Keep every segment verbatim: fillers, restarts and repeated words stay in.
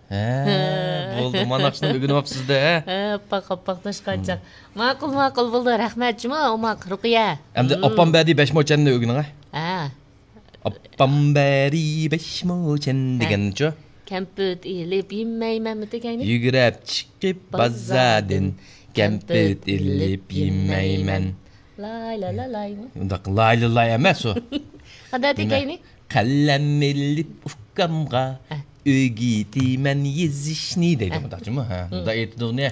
ھە، بولدى، مانا شۇنى ئۆگىنىۋاپسىز-دە، ھە؟ ھە، ئاپپاق، ئاپپاق، نەشقانچاق. ماقۇل، ماقۇل، بولدى، رەھمەت، جۇمۇ، ئوماق، رۇقىيە. ئەمدى ئاپام بەدى بەش موچەننى ئۆگىنىڭ، ھە؟ ھە. ئاپام بەدى بەش موچەن دېگەنچۇ؟ كەمپۈت ئېلىپ يېمەيمەنمۇ دېگەينى؟ يۈگۈرۈپ چىقىپ بازاردىن كەمپۈت ئېلىپ يېمەيمەن. لاي لا لا لايمۇ؟ ئۇنداق لاي لا لاي ئەمەس ئۇ. قانداق دېگەينى؟ قەلەم ئېلىپ ئۇكامغا ئۆگىتىمەن يېزىشنى دەيدۇ، مۇنداقچىمۇ؟ ھە، مۇنداق ئېيتىدۇ ئۇنى.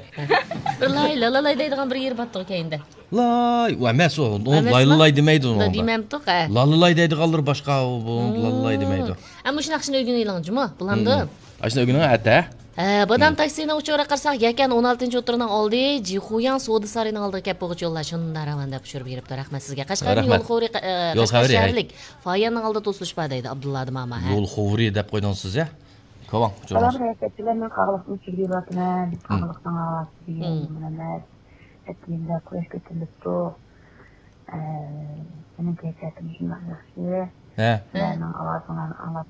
بىر لاي لا لا لاي دەيدىغان بىر يېرى باتتىغۇ كەينىدە. لاي، ئۇ ئەمەس ئۇ. ئۇ لاي لا لاي دېمەيدۇ ئۇنىڭدا. دېمەمتۇق، ھە. لا لا لاي دەيدىغانلىرى باشقا، ئۇ، بۇ لا لا لاي دېمەيدۇ. ھە، مۇشۇ ناخشىنى ئۆگىنىۋېلىڭ جۇمۇ، بولامدۇ؟ ئاشۇنى ئۆگىنىڭ ئەتە. ھە، بادام تاكسىنىڭ ئۇچۇرىغا قارىساق، يەكەن ئون ئالتىنچى ئوتتۇرىنىڭ ئالدى، جىخۇياڭ سودا سارىيىنىڭ ئالدىغا كەپ بولغۇچە يوللار شۇنداق راۋان دەپ ئۇچۇر بېرىپتۇ. رەھمەت سىزگە. قەشقەرنىڭ يول خورى، ئە، قەشقەر شەھەرلىك فاياننىڭ ئالدىدا توسۇلۇش بار دەيدۇ ئابدۇللا دىماما، ھە. يول خورى دەپ قويدۇڭ سىز، ھە؟ كاۋاڭ، سالام، رەھمەتچىلەر، مەن قاغىلىقتىن ئۇچۇر بېرىۋاتىمەن. قاغىلىقنىڭ ھاۋاسى دېگەن مۇنەمەس. ئەتىگەندە قۇياش كۆتۈرۈلۈپتۇ. ئە، مېنىڭ كەيپىياتىم شۇنداق ياخشى. ھە. سىلەرنىڭ ئاۋازىڭلارنى ئاڭلاپ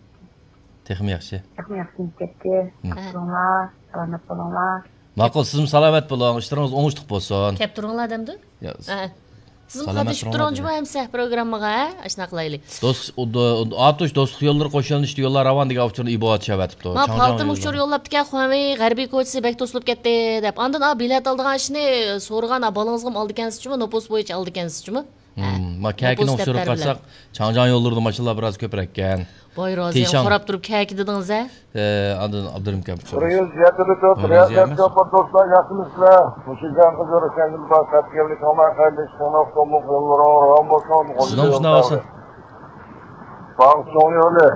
تېخىمۇ ياخشى. تېخىمۇ ياخشى كېلىپ كەتتى. كەپ تۇرۇڭلار، سالامەت بولۇڭلار. ماقۇل، سىزمۇ سالامەت بولۇڭ، ئىشلىرىڭىز ئوڭۇشلۇق بولسۇن. كەپ تۇرۇڭلار دەمدۇ؟ يا، ھە. سىزمۇ قاتنىشىپ تۇرۇڭ جۇمۇ ئەمسە پروگراممىغا، ھە؟ ئاشۇنداق قىلايلى. دوست، ئۇ، دو-، ئاتۇش دوستلۇق يوللىرى قوشۇلۇشتى يوللار راۋان دېگەن ئۇچۇرنى ئىبوغا چۈشۈرۈۋەتىپتۇ. ما پالتىم ئۇچۇر يوللاپتىكەن، خۇەنۋېي غەربىي كوچىسى بەك توسۇلۇپ كەتتى دەپ. ئاندىن ئا بېلەت ئالىدىغان ئىشنى سورىغان، ئا بالىڭىزغىمۇ ئالىدىكەنسىزچۇمۇ، نوپۇس بويىچە ئالىدىكەنسىزچۇمۇ؟ ھە. ما كەكىنىڭ ئۇچۇرىغا قارىساق، چاڭجياڭ يوللىرىدا ماشىنىلار بىراز كۆپرەككەن. ۋاي رازىيەم، تىشاڭ. خوراپ تۇرۇپ كەكىدىدىڭىز ھە؟ ئە، ئاندىن ئابدۇرېھىم كەمپۇت سورىسا. بىر يۈز يەتتە تۆت، بىر يۈز يەتتە تۆت، دوستلار، ياخشىمۇسىلەر؟ مۇشۇ جەڭ قىزى رۇشەن يىلباز تەپكەللىك ئاڭلار خەيرلىك، شۇڭلۇق سوملۇق يوللىرىڭ راۋان بولسۇن. سىزنىڭ شۇنداق بولسۇن. باغ چوڭ يولى.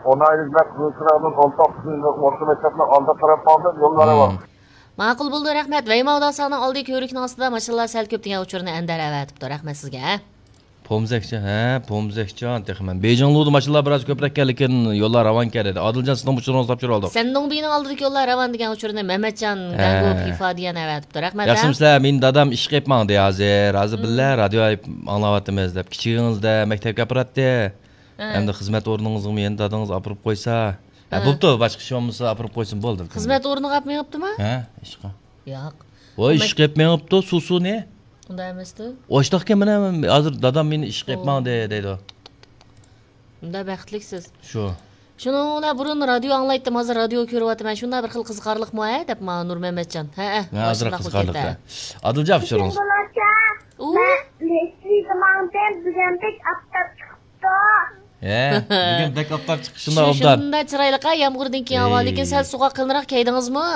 ئون ئايلىق نەق قىزىل چىراغدىن ئون توققۇزىنچى ئورتا مەكتەپنىڭ ئالدى تەرەپ باغدىن يوللار راۋان. ماقۇل بولدى، رەھمەت. ۋەيماۋداساڭنىڭ ئالدى كۆۋرۈكنىڭ ئاستىدا ماشىنىلار سەل كۆپ دېگەن ئۇچۇرنى ئەندەر ئەۋەتىپتۇ. رەھمەت سىزگە. پومزەكچان، ھە، پومزەكچان، تېخى مەن. بېيجىڭلۇدا ماشىنىلار بىراز كۆپرەك ئىكەن، لېكىن يوللار راۋانكەن دېدى. ئادىلجان، سىزنىڭ ئۇچۇرىڭىزنى تاپشۇرۇۋالدۇق. سەندۇڭبىنىڭ ئالدىدىكى يوللار راۋان دېگەن ئۇچۇرنى مەمەتجان گەڭگۇ پىفا دېگەن ئەۋەتىپتۇ. رەھمەت، ھە. ياخشىمۇسىلەر؟ مېنى دادام ئىشقا ئېلىپ ماڭدى ھازىر. ھازىر بىللە رادىيو ئاڭلاۋاتىمىز دەپ. كىچىكىڭىزدە مەكتەپكە ئاپىراتتى. ھە. ئەمدى خىزمەت ئورنىڭىزغىمۇ يەنە دادىڭىز ئاپىرىپ قويسا. ھە، بوپتۇ، باشقا ئىش بولمىسا ئاپىرىپ قويسۇن، بولدى. خىزمەت ئورنىغا ئاپىرىپ مېڭىپتىما؟ ھە، ئىشقا. ياق. ۋاي، ئىشقا ئېلىپ مېڭىپتۇ، سۇسۇنى. ئۇنداق ئەمەستۇ. ئاشتاقكەن مانا، ھازىر دادام مېنى ئىشقا ئېلىپ ماڭدى دەيدۇ. ئۇنداق بەختلىكسىز. شۇ. شۇنىڭ بىلەن بۇرۇن رادىيو ئاڭلايتتىم، ھازىر رادىيو كۆرۈۋاتىمەن. شۇنداق بىر خىل قىزىقارلىقمۇ ھە دەپ ماڭا نۇرمەمەتجان. ھەئە. ھە، ھازىر قىزىقارلىق. ئادىلجان، ئۇچۇرىڭىز. ئۇ؟ مەن لېسلىدا ماڭدىم، بۈگۈن بەك ئاپتاپ چىقىپتۇ. ھە، بۈگۈن بەك ئاپتاپ چىقىشىندا ئوبدان. شۇنداق چىرايلىق ھە، يامغۇردىن كېيىن ھاۋا، لېكىن سەل سوغۇق قېلىنراق كىيدىڭىزمۇ؟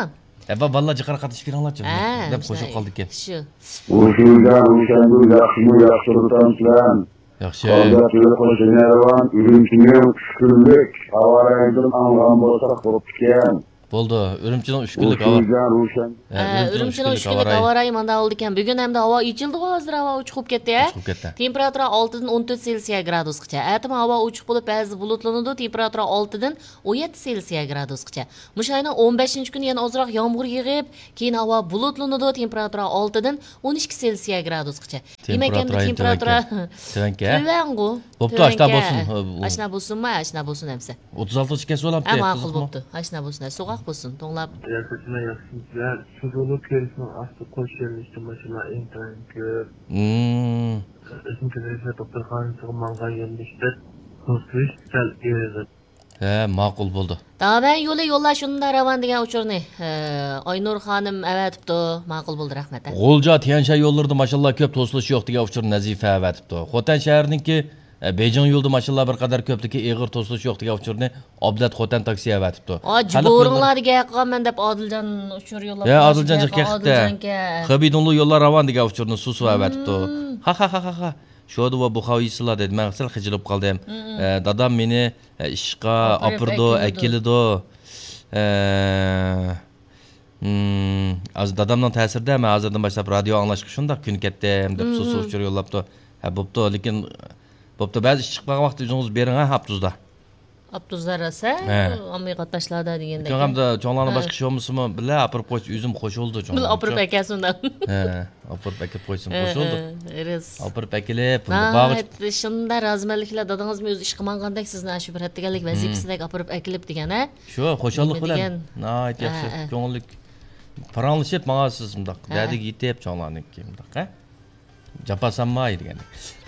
ھە، بالىلار جىققىراق قاتنىشىپ كىرىڭلارچۇ، دەپ قوشۇپ قالدىكەن. شۇ. ۋۇشۇجان روشەندۇر، ياخشىمۇ، ياخشى تۇرۇپسەن؟ ياخشى. قالدى توي قوشۇن يارىۋان، ئۈرۈمچىنىڭ ئۈچ كۈنلۈك ھاۋا رايىدىن ئاڭلىغان بولساق بوپتىكەن. بولدى، ئۈرۈمچىنىڭ ئۈچ كۈنلۈك ھاۋا. ۋۇشۇجان روشەن. ھە، ئۈرۈمچىنىڭ ئۈچ كۈنلۈك ھاۋا رايى مانداق بولىدىكەن. بۈگۈن ئەمدى ھاۋا ئېچىلدىغۇ، ھازىر ھاۋا ئوچۇق بولۇپ كەتتى ھە. ئوچۇق بولۇپ كەتتى. تېمپېراتۇرا ئالتىدىن ئون تۆت سېلسىيە گرادۇسقىچە. ئەتىمۇ ھاۋا ئوچۇق بولۇپ، بەزىدە بۇلۇتلىنىدۇ، تېمپېراتۇرا ئالتىدىن ئون يەتتە سېلسىيە گرادۇسقىچە. مۇشۇ ئاينىڭ ئون بەشىنچى كۈنى يەنە ئازراق يامغۇر يېغىپ، كېيىن ھاۋا بۇلۇتلىنىدۇ، تېمپېراتۇرا ئالتىدىن ئون ئىككى سېلسىيە گرادۇسقىچە. دېمەك، ئەمدى تېمپېراتۇرا تۆۋەنكەن. تۆۋەنكەن. تۆۋەنغۇ. بوپتۇ، ئاشۇنداق بولسۇن. ئاشۇنداق بولسۇنما، ئاشۇنداق بولسۇن ئەمسە. ئوتتۇز ئالتىنچى كەسىۋالامتى. ھە، ماقۇل بوپتۇ. ئاشۇنداق بولسۇن، سوغۇق بولسۇن، توڭلاپ. رىياسەتچىمەن، ياخشىمۇسىلەر؟ شۇ زولۇ كۆۋرۈكنىڭ ئاستى قوش يۆنىلىشتە ماشىنىلار ئىنتايىن كۆپ. ئىزمىر كۆۋرۈك دوختۇرخانىسىغا ماڭغان يۆنىلىشتە توسۇلۇش سەل ئېغىر. ھە، ماقۇل بولدى. داۋەن يولى يوللار شۇنداق راۋان دېگەن ئۇچۇرنى، ئە، ئاينۇر خانىم ئەۋەتىپتۇ. ماقۇل بولدى، رەھمەت، ھە. غۇلجا تيەنشەن يوللىرىدا ماشىنىلار كۆپ، توسۇلۇش يوق دېگەن ئۇچۇرنى نەزىپە ئەۋەتىپتۇ. خوتەن شەھىرىنىڭكى، ئە، بېيجىڭ يولىدا ماشىنىلار بىر قەدەر كۆپلۈكى ئېغىر، توسۇلۇش يوق دېگەن ئۇچۇرنى ئابلەت خوتەن تاكسى ئەۋەتىپتۇ. ئا، جۇبۇرۇڭلاردا گەپ قىلغان مەن دەپ ئادىلجان ئۇچۇر يوللاپ. ھە، ئادىلجان جىق كەقتە. خېبېيدۇڭلۇ يوللار راۋان دېگەن ئۇچۇرنى سۇسۇ ئەۋەتىپتۇ. ھا، ھا، ھا، ھا، ھا. شۇدا ۋە بۇ خاۋىسىلا دېدى. مەن سەل خىجىلىپ قالدىم. ئە، دادام مېنى، ئە، ئىشقا ئاپىرىدۇ، ئەكېلىدۇ. ئە، ھازىر دادامنىڭ تەسىرىدە مەن ھازىردىن باشلاپ رادىيو ئاڭلاشقا شۇنداق كۆنۈپ كەتتىم، دەپ سۇسۇ ئۇچۇر يوللاپتۇ. ھە، بوپتۇ، لېكىن، بوپتۇ، بەزى ئىش چىقىپ قالغان ۋاقىتتا ئۆزىڭىز بېرىڭ، ھە، ئاپتوبۇستا. ئاپتوبۇسلار راسا، ھە. ئاممىۋى قاتناشلاردا دېگەندەك. چوڭ ھەمدە چوڭلارنىڭ ھە. باشقا ئىش بولمىسىمۇ، بىللە ئاپىرىپ قويسا، ئۆزۈم قوشۇلدى چوڭ. بىللە ئاپىرىپ ئەكەلسۇن دەپ. ھە، ئاپىرىپ ئەكەپ قويسۇن، ھە، قوشۇلدى. ھە، رەس. ئاپىرىپ ئەكېلىپ، بارغۇچە ناھايىتى شۇنداق رازىمەنلىك بىلەن دادىڭىزمۇ ئۆزى ئىشقا ماڭغاندەك سىزنى ئاشۇ بىر ھەتتىگەنلىك ۋەزىپىسىدەك ئاپىرىپ ئەكېلىپ دېگەن، ھە؟ شۇ، خۇشاللىق نېمە بىلەن. دېگەن؟ ناھايىتى ياخشى، ھە، ھە. كۆڭۈللۈك. پاراڭلىشىپ ماڭارسىز مۇنداق. ھە. دەردىگە يېتىپ، چوڭلارنىڭكى مۇنداق، ھە؟ جاپا سانماي دېگەن.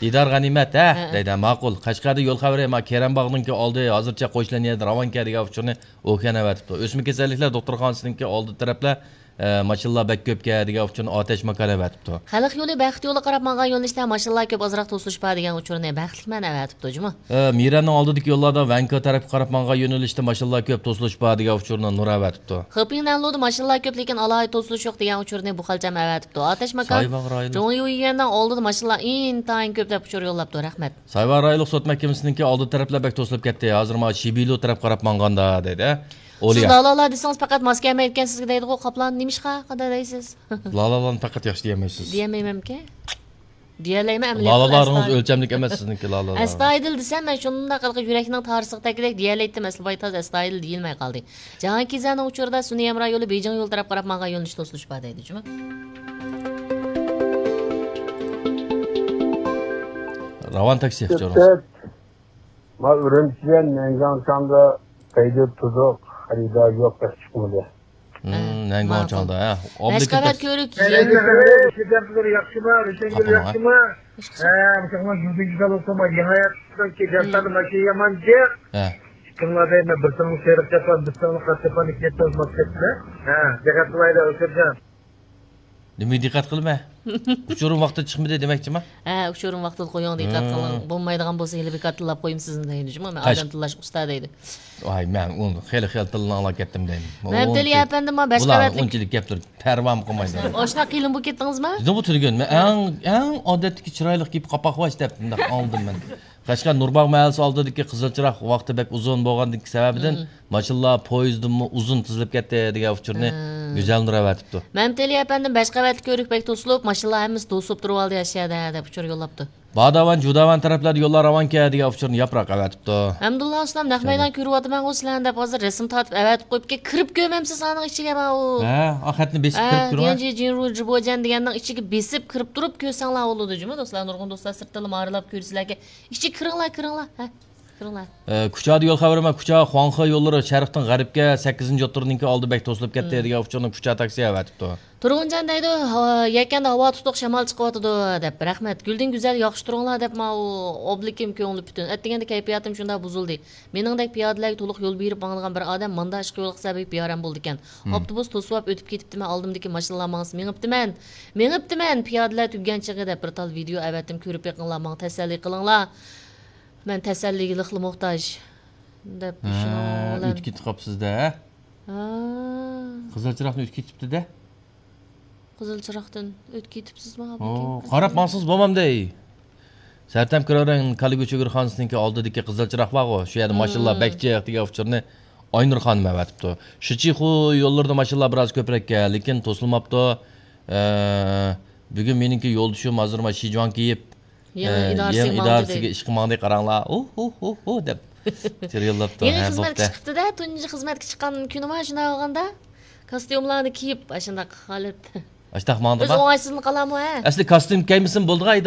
دىدار غەنىيمەت، ھە؟ ھە، ھە. دەيدۇ، ماقۇل. قەشقەردە يول خەۋىرى، ما كېرەم باغنىڭكى ئالدى، ھازىرچە قوشۇلغان يەردە راۋانكەن دېگەن ئۇچۇرنى ئوكيان ئەۋەتىپتۇ. ئۆسمە كېسەللىكلەر دوختۇرخانىسىنىڭكى ئالدى تەرەپلەر، ئە، ماشىنىلار بەك كۆپكەن دېگەن ئۇچۇرنى ئاتەش ماكان ئەۋەتىپتۇ. خەلق يولى بەخت يولىغا قاراپ ماڭغان يۆنىلىشتە ماشىنىلار كۆپ، ئازراق توسۇلۇش بار دېگەن ئۇچۇرنى بەختلىكمەن ئەۋەتىپتۇ جۇمۇ. ئە، مىرەننىڭ ئالدىدىكى يوللاردا ۋەنكو تەرەپكە قاراپ ماڭغان يۆنىلىشتە ماشىنىلار كۆپ، توسۇلۇش بار دېگەن ئۇچۇرنى نۇر ئەۋەتىپتۇ. خېپىڭ نەنلۇدا ماشىنىلار كۆپ، لېكىن ئالاھىدە توسۇلۇش يوق دېگەن ئۇچۇرنى بۇخەلچەم ئەۋەتىپتۇ. ئاتەش ماكان سايۋاغ رايونى. جۇڭيۇيۈەننىڭ ئالدىدا ماشىنىلار ئىنتايىن كۆپ دەپ ئۇچۇر يوللاپتۇ. رەھمەت. سايۋاغ رايونلۇق سوت مەھكىمىسىنىڭكى ئالدى تەرەپلەر بەك توسۇلۇپ كەتتى. ھازىر مانا شىبىلۇ تەرەپ قاراپ ماڭغاندا دەيدۇ. سىز ئولىيا. لالالار دېسىڭىز پەقەت ماس كەلمەيدىكەنسىزگە دەيدىغۇ، قاپلان. نېمىشقا؟ قانداق دەيسىز؟ لالالارنى پەقەت ياخشى دېيەلمەيسىز. دېيەلمەيمەنمىكىن؟ دېيەلەيمەن ئەمەلىيەتتە. لالالارىڭىز ئەستايىدىل. ئۆلچەملىك ئەمەس سىزنىڭكى لالالار. ئەستايىدىل دېسەم، مەن شۇنداق ھېلىقى يۈرەكنىڭ تارسىغا تەگكۈدەك دېيەلەيتتىم، ئەسلى بايتاز ئەستايىدىل دېيىلمەي قالدى. جاھانكىزەنىڭ ئۇچۇرىدا سۈنئىي ھەمراھ يولى بېيجىڭ يولى تەرەپ قاراپ ماڭغان يۆنىلىش توسۇلۇش بار دەيدۇ جۇمۇ. راۋان تاكسى ئۇچۇرىڭىز. ما ئۈرۈمچىدىن نەنگاڭچاڭدا پەيدە تۇزۇق، خېرىدار يوق، بەك چىقمىدى. ھە، نەنگاڭچاڭدا، ھە. بەش قەۋەت كۆۋرۈك. ياخشىما، رۆشەنگۈل ياخشىما؟ ھە، مۇشۇڭلار يۈزىگە سالسا، يېڭى ھايات، ماشىنا يامان جىق. ھە. ئىككىڭلار دەيمەن، بىر تىڭلىق سېرىق چاپان، بىر تىڭلىق قارا چاپان، ئىككى تىڭلىق ماس كەتتى. ھە، دىققەت قىلايلى، ئۆتكۈرجان. نېمىگە دىققەت قىلىمەن؟ ئۇچۇرۇم ۋاقتىدا چىقمىدى دېمەكچىما؟ ھە، ئۇچۇرۇم ۋاقتىدا قويۇڭ، دىققەت قىلىڭ. بولمايدىغان بولسا ھېلى بىكار تىللاپ قويۇم سىزنى دەيدۇ جۇمۇ. مەن ئادەم تىللاشقا ئۇستا دەيدۇ. ۋاي، مەن ئۇنى خېلى خېلى تىلنى ئاڭلاپ كەتتىم دەيمەن. مەمتىلى ئەپەندىم، ما بەش قەۋەتلىك. ئۇنچىلىك گەپتۇر پەرۋامۇ قىلمايدۇ. ئاشۇنداق قىيىن بولۇپ كەتتىڭىزما؟ بىزنىڭ بۇ تۈرگۈن، مەن ئەڭ، ئەڭ ئادەتتىكى چىرايلىق گېپى قاپاقۋاش دەپ مۇنداق ئاڭلىدىم مەن. قەشقەر نۇرباغ مەھەللىسى ئالدىدىكى قىزىل چىراغ ۋاقتى بەك ئۇزۇن بولغاندىكى سەۋەبىدىن ماشىنىلار پويىزدىنمۇ ئۇزۇن تىزىلىپ كەتتى دېگەن ئۇچۇرنى گۈزەل نۇر ئەۋەتىپتۇ. مەمتىلى ئەپەندىم، بەش قەۋەتلىك كۆۋرۈك بەك توسۇلۇپ، ماشىنىلار ھەممىسى توسۇپ تۇرۇۋالدى ئەشيەدە دەپ ئۇچۇر يوللاپتۇ. باغداۋان، جۇداۋان تەرەپلەردە يوللار راۋانكەن دېگەن ئۇچۇرنى ياپراق ئەۋەتىپتۇ. ھەمدۇللا ئۇستام، نەق مەيدان كۆرۈۋاتىمەنغۇ سىلەرنى دەپ ھازىر رەسىم تارتىپ ئەۋەتىپ قويۇپكەن، كىرىپ كۆرمەمسىز ئانىڭ ئىچىگە ماۋۇ. ھە، ئا خەتنى بېسىپ كىرىپ كۆرۈڭ. تيەنجى جىنرۇ جىبوجيەن دېگەننىڭ ئىچىگە بېسىپ كىرىپ تۇرۇپ كۆرسەڭلار بولىدۇ جۇمۇ دوستلار، نۇرغۇن دوستلار سىرتتىنلا مارىلاپ كۆرسىلەركەن. ئىچىگە كىرىڭلار، كىرىڭلار، ھە، كىرىڭلار. ئە، كۇچادا يول خەۋىرى، مەن كۇچا خۇاڭخې يوللىرى شەرقتىن غەربكە سەككىزىنچى يوتۇرنىڭكى ئالدى بەك توسۇلۇپ كەتتى دېگەن ئۇچۇرنى كۇچا تاكسى ئەۋەتىپتۇ. تۇرغۇنجان دەيدۇ، ھا، يەكەندە ھاۋا تۇتۇق، شامال چىقىۋاتىدۇ دەپ. رەھمەت. گۈلدىن گۈزەل، ياخشى تۇرۇڭلار دەپ ماۋۇ ئوبلىكىم، كۆڭلى پۈتۈن. ئەتىگەندە كەيپىياتىم شۇنداق بۇزۇلدى. مېنىڭدەك پىيادىلەرگە تولۇق يول بېرىپ ماڭىدىغان بىر ئادەم ماندا ئىشقا يولۇقسا بەك بىئارام بولىدىكەن. ئاپتوبۇس توسۇۋاپ ئۆتۈپ كېتىپتىمەن، ئالدىمدىكى ماشىنىلار ماڭسا مېڭىپتىمەن. مېڭىپتىمەن، پىيادىلەر تۈگىگەن چېغى دەپ بىر تال ۋىدېئو ئەۋەتتىم، كۆرۈپ بېقىڭلار، ماڭا تەسەللى قىلىڭلار. مەن تەسەللىگە لىقلا موھتاج دەپ ھە، شۇنىڭ بىلەن ئۆتۈپ كېتىپ قاپسىز-دە، ھە؟ ھە. قىزىل چىراغنى ئۆتۈپ كېتىپتۇ-دە. قىزىل چىراغدىن ئۆتۈپ كېتىپسىزمۇ؟ ئو، قاراپ ماڭسىڭىز بولمامدۇ؟ سەرتەم كرارەن كالىگۈ چۆگۈرخانىسىنىڭكى ئالدىدىكى قىزىل چىراغ بارغۇ، شۇ يەردە ماشىنىلار بەك جىق دېگەن ئۇچۇرنى ئاينۇر خانىم ئەۋەتىپتۇ. شىچىخۇ يوللىرىدا ماشىنىلار بىراز كۆپرەككەن، لېكىن توسۇلماپتۇ. ئە، بۈگۈن مېنىڭكى يولدىشىم ھازىر ما شىجۇاڭ كىيىپ، يېڭى ئە، ئىدارىسىگە يېڭى ماڭدى ئىدارىسىگە دەيدۇ. ئىشقا ماڭدى، قاراڭلار. ئۇھ، ئۇھ، ئۇھ، ئۇھ دەپ تېرىياللاپتۇ. يېڭى ھە، خىزمەتكە بوپتۇ. چىقىپتۇ-دە، تۇنجى خىزمەتكە چىققان كۈنىما شۇنداق بولغاندا، كاستيۇملارنى كىيىپ، ئاشۇنداق ھالەت. ئاشتاق ماڭدىما؟ ئۆزى ئوڭايسىزلىنىپ قالامۇ، ھە؟ ئەسلى كاستيۇم كىيمىسىمۇ بولىدىغان ئىدى.